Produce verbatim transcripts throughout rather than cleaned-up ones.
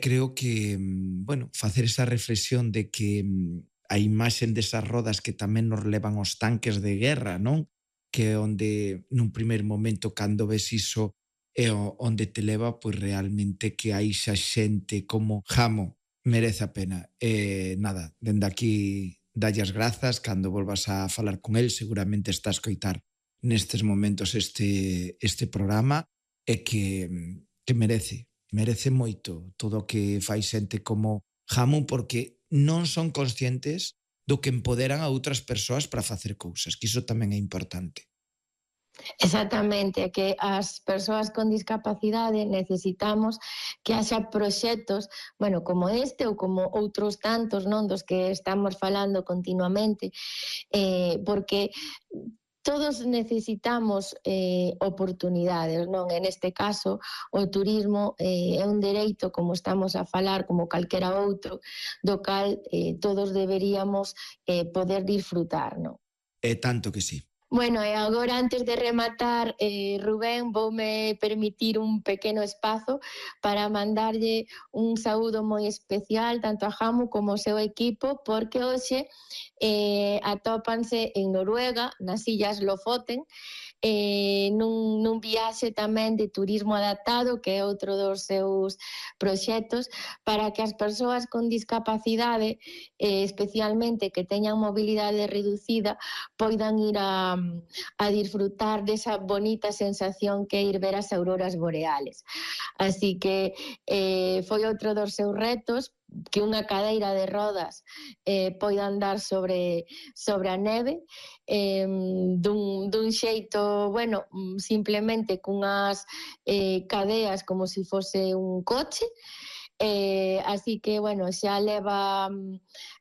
creo que, bueno, facer esa reflexión de que a imaxen desas rodas que tamén nos levan os tanques de guerra, non? Que é onde, nun primeiro momento, cando ves iso, é onde te leva, pois realmente que hai xa xente como Jamo, merece a pena. E nada, dende aquí dalle as grazas, cando volvas a falar con el, seguramente está a escoitar nestes momentos este, este programa, e que, que merece, merece moito todo o que fai xente como Jamo, porque non son conscientes do que empoderan a outras persoas para facer cousas, que iso tamén é importante. Exactamente, que as persoas con discapacidade necesitamos que haxa proxectos, bueno, como este ou como outros tantos, non, dos que estamos falando continuamente, eh, porque todos necesitamos eh, oportunidades, non? En este caso, o turismo eh, é un dereito, como estamos a falar, como calquera outro, do cal eh, todos deberíamos eh, poder disfrutar, non? É tanto que sí. Bueno, e agora, antes de rematar, eh, Rubén, voume permitir un pequeno espazo para mandarlle un saúdo moi especial tanto a Jamo como ao seu equipo, porque hoxe eh, atópanse en Noruega, nas illas Lofoten, eh, nun, nun viaxe tamén de turismo adaptado, que é outro dos seus proxectos, para que as persoas con discapacidade, eh, especialmente que teñan mobilidade reducida, poidan ir a, a disfrutar desa bonita sensación que é ir ver as auroras boreales. Así que eh, foi outro dos seus retos, que unha cadeira de rodas eh, poida andar sobre, sobre a neve eh, dun, dun xeito, bueno, simplemente cunhas eh, cadeas como se si fose un coche. Eh, así que, bueno, xa leva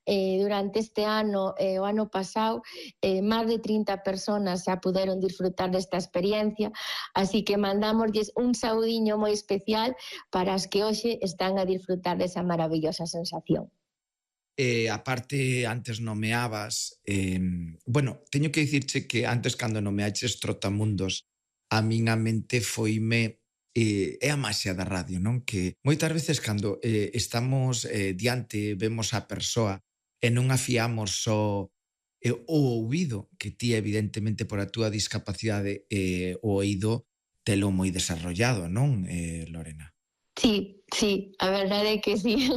eh, durante este ano e eh, o ano pasado eh, máis de trinta personas xa puderon disfrutar desta experiencia, así que mandámosles un saudiño moi especial para as que hoxe están a disfrutar desa maravillosa sensación. Eh, aparte, antes nomeabas, eh, bueno, teño que dicirche que antes cando nomeaches Trotamundos, a miña mente foime eh, é a maxia da radio, non? Que moitas veces cando eh, estamos eh, diante, vemos a persoa e non afiamos só eh, o ouvido, que ti evidentemente por a túa discapacidade eh, o oído telo moi desarrollado, non, eh, Lorena? Sí, sí, a verdade é que sí.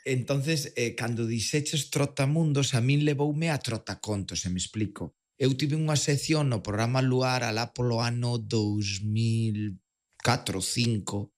Entonces, eh, cando dixeches Trotamundos, a min levoume a Trotacontos, se me explico. Eu tive unha sección no programa Luar alá polo ano dous mil catro, cinco,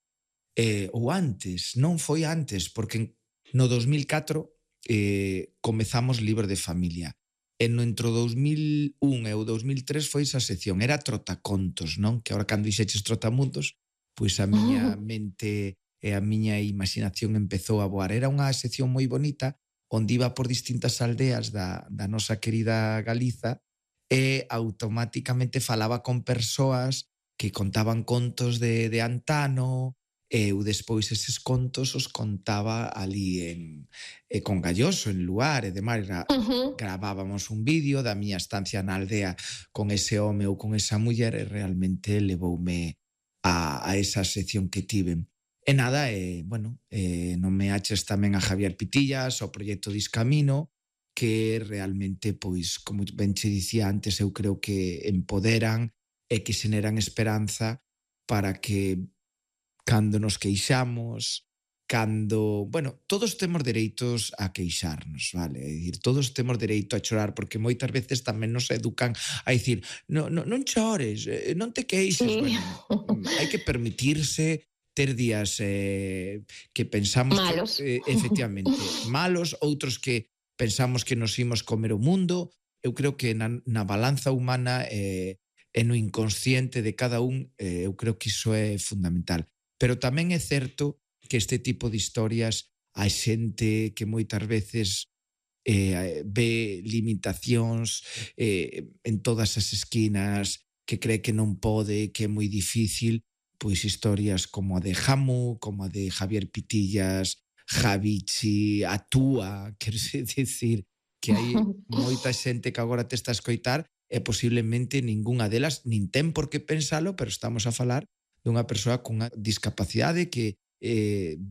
eh, ou antes, non foi antes, porque no dous mil catro eh, comezamos Libro de Familia. E no entre o dous mil un e o dous mil tres foi esa sección, era Trotacontos, non? Que agora cando dixeches Trotamundos, pois a miña mente e a miña imaginación empezou a voar. Era unha sección moi bonita, onde iba por distintas aldeas da, da nosa querida Galiza e automáticamente falaba con persoas que contaban contos de, de antano, e eu despois eses contos os contaba ali en, eh, con Galloso, en Luar, e demais. Gra, uh-huh. Gravábamos un vídeo da miña estancia na aldea con ese home ou con esa muller e realmente levoume a, a esa sección que tiven. E nada, eh, bueno, eh, non me aches tamén a Javier Pitillas, o proxecto Discamino, que realmente, pois, como ben che dicía antes, eu creo que empoderan e que xeneran esperanza para que cando nos queixamos, cando, bueno, todos temos dereitos a queixarnos, vale? É dicir, todos temos dereito a chorar, porque moitas veces tamén nos educan a dicir, no, no, non chores, non te queixes, sí. Bueno, hai que permitirse ter días eh, que pensamos malos. Que, eh, efectivamente, malos, outros que pensamos que nos imos comer o mundo. Eu creo que na, na balanza humana eh, e no inconsciente de cada un, eh, eu creo que iso é fundamental. Pero tamén é certo que este tipo de historias hai xente que moitas veces eh, ve limitacións eh, en todas as esquinas, que cree que non pode, que é moi difícil, pois historias como a de Jamo, como a de Javier Pitillas, Javichi, a túa, quero dicir que hai moita xente que agora te está a escoitar e posiblemente ningunha delas nin ten por que pensalo, pero estamos a falar dunha persoa cunha discapacidade que eh,